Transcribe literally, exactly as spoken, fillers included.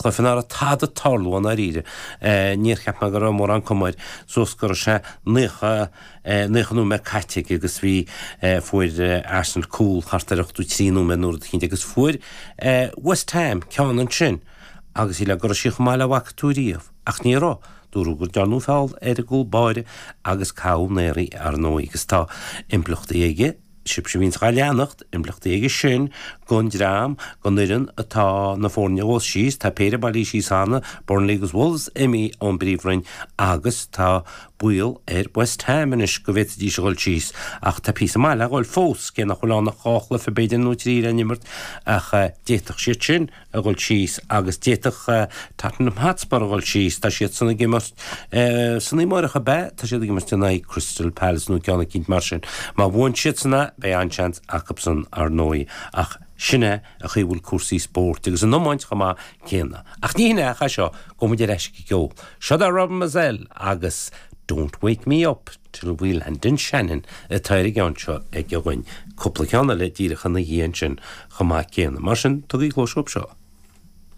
Cluiche nach raibh tada ag tarlú i ndáiríre. Níor cheap mé go raibh mórán cuma air suas go raibh sé naocha, naocha nóiméad caite aige agus bhí, fuair Arsenal cúl thart ar ochtó trí nóiméad nó rud eicínt agus fuair West Ham ceann ansin agus shílfeá go raibh sí chomh maith le bhfaca tú riamh ach ní raibh. Dúradh go ndearnadh feall ar an gcúl báire agus caitheadh an aer í ar ndóigh agus tá impleachtaí aige, sibhse a bhíonns dhá leanacht, impleachtaí aige sin gon dream, gon fhoireann atá na foirne a dhul síos, tá péire bailithe síos cheana, Burnley agus Wolves imithe ón bPríomhroinn agus tá baol ar West Ham anois go bhféadfaidís a dhul síos ach tá píosa maith le dhul fós, cé nach bhfuil ann ach dhá chluiche b'fhéidir nó trí le n-imirt ach d'fhéadfadh siad sin a dhul síos agus d'fhéadfadh Tottenham Hotspur a dhul síos, tá siad san ag imirt san oíche amárach ab ea? Tá siad ag imirt in aghaidh Crystal Palace nó ceann eicínt mar sin. Má bhuann siad san é, beidh an-seans acu san ar ndóigh ach sin é an chaoi a bhfuil cúrsaí spóirt agus an iomáint chomh maith céanna. Ach ní hin é ach é seo, gabhfaidh muid ar ais ag an gceol. Seo é Robin Mizzell agus Don't Wake Me Up Till We Land in Shannon atá ar an gceann seo aige dhúinn. Cúpla ceann eile díreach ina dhiaidh ansin chomh maith céanna. Mar sin, tugaigí cluas dhób seo.